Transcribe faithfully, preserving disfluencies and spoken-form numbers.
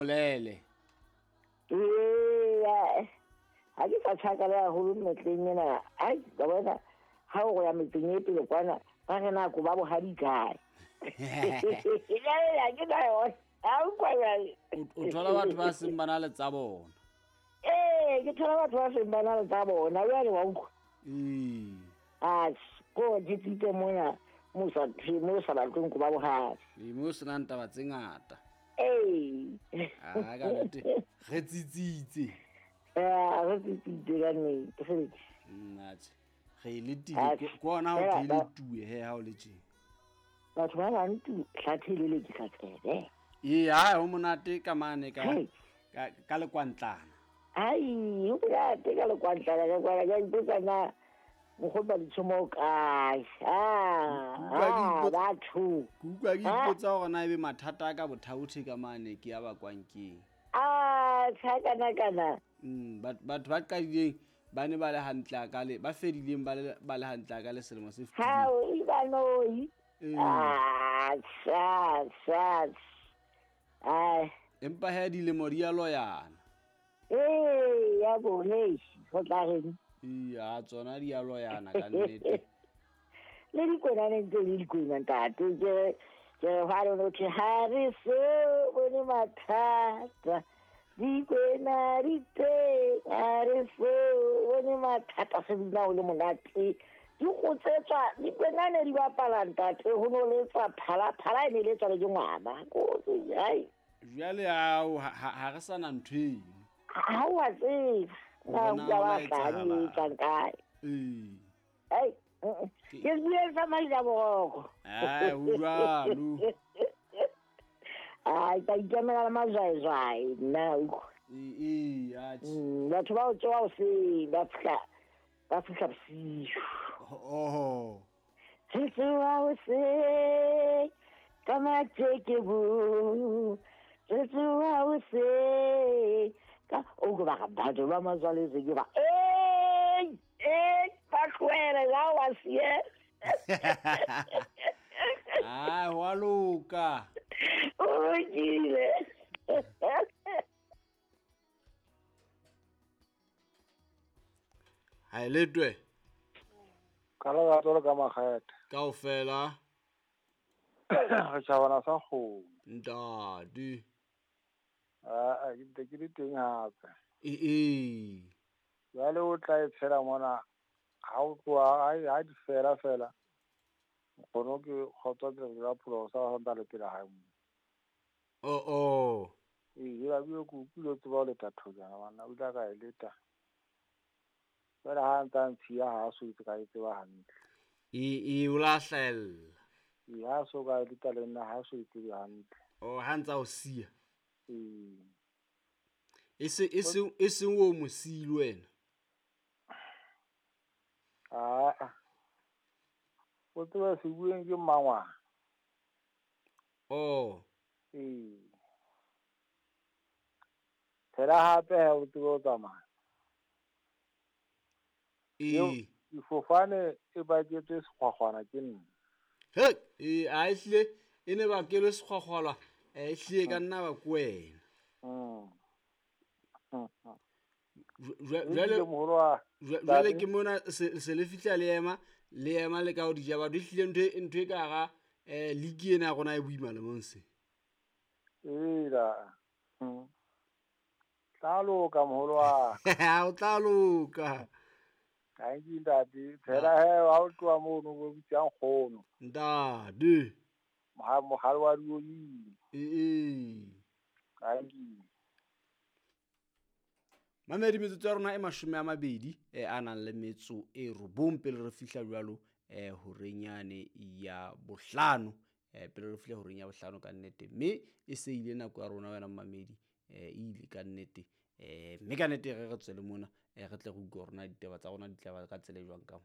Bolele. Ee, ha ke sa tjhakala haholo metleng ena. Ai, ka bona ha o ya metseng e pele kwana ba re nako ba bohadi kae. Ya ke na yona. Ha o kwa jwale. O thola batho ba seng ba na le tsa bona. Ee, ke thola batho ba seng ba na le tsa bona jwale wa utlwa. Ee. Ah, ko di tsitse mona mo sa mo sa batleng ko ba bohadi. Le mo se nang taba tse ngata. Ee. Ah, ka nnete re tsitsitse. Eh, re tsitsitse ka nnete. Nna tje. Re letile ko ona ho thele tuwe he ha o le tje. Batho ba bang tu hlathele le ke tsebe. Ee, ha ho monate ka mane ka ka ka lekwantlana. Ai, ho monate ka lekwantlana ka kwa ka ipotsa na mokgotsa ditshomo kae. Ah, batho. Ke utlwa ke ipotsa hore na ebe mathata a ka bothaothe ka mane ke a bakwang keng. Ah, tshakana kana. Mm, batho ba qadileng ba ne ba le hantle a ka le ba fedileng ba le ba le hantle a ka le selemo se fetileng. Ha o ibanoi. Ah, sa sa. Ai, empa he dilemo di a loyana. Eh, ya bo nei, ho tla reng. Iya, tsona di a loyana ka nnete. Le dikwena ne ntse le dikwena ntate ke ke ha re no ke ha re so bone mathata. Dikwena di teng ha re so bone mathata se bina o le monate. Di gotsetswa dikwena ne di bapala ntate ho no letswa phala phala e ne letswa le ke ngwana. Ko ai. Jwale ao ha re sana ntho eno. Ha wa tseba. Na o ba tla kae. Ee. Ai, ke bue sa maila boroko. Ai, ho jwalo. Ai, ka ikemela le mazwaizwai nna utlwa. Ee, ee, atjhe. Batho ba o tsoha hoseng ba fihla ba fihla bosiu. Oh. Re tsoha hoseng ka matjeke bo. Re tsoha hoseng ka o go ba batho ba mazwaletse ke ba. Eh, eh, ba tlohele la wa sie. Ah, wa loka. O kile. Ha letwe. Ka la tsolo ka makgetha. Kaofela. Re tjhabana sa kgomo. Ntate. Ah, ke ntse ke le teng hape. Ee ee. Jwale o tla e tshela mona ha o tloha ha di fela fela. Nkgono ke kgotsa ke re la pholo sa ho nta le pela hae mo. Oh oh. Ee, la bue ke utlwile tseba o leta thojana bana o tla ka e leta. Jwale ha ntsa ntshiya ha so itse ka e tseba hantle. Ee ee o la hlahella. Ee, ha so ka e leta le nna ha so itse hantle. Oh, ha ntsa o siya. Ee. E se e se e seng o mo siile wena. Ah. O tseba se bueng ke mmangwana. Oh. Ee. Phela hape ha o tsebe o tsamaya. Ee. Difofane e baketswe sekgwakgwana ke nna. He, ee, a ehlile e ne bakelwe sekgwakgwalwa, e ehlile ka nna ba ko wena. Mm. Jwale jwale ke mona se le fihla le ema le ema le ka ho dija batho ehlile ntho ntho e ka hara eh league ena ya rona e boima le monse. Ee la. Mm. Tla loka moholo wa. O tla loka. Thank you ntate. Phela he ha o tloha mono o bitsa nkgono. Ntate. Moha mohale wa diolini. Ee. Thank you. Mamedi metsotso ya rona e mashome a mabedi e a nang le metso e robong pele re fihla jwalo eh horeng yane ya bohlano eh pele re fihla horeng ya bohlano ka nnete mme e se ile nako ya rona wena mamedi eh ile ka nnete eh mme ka nnete re re tswele mona eh re tle re utlwe rona ditaba tsa rona di tla ba ka tsela e jwang ka mo.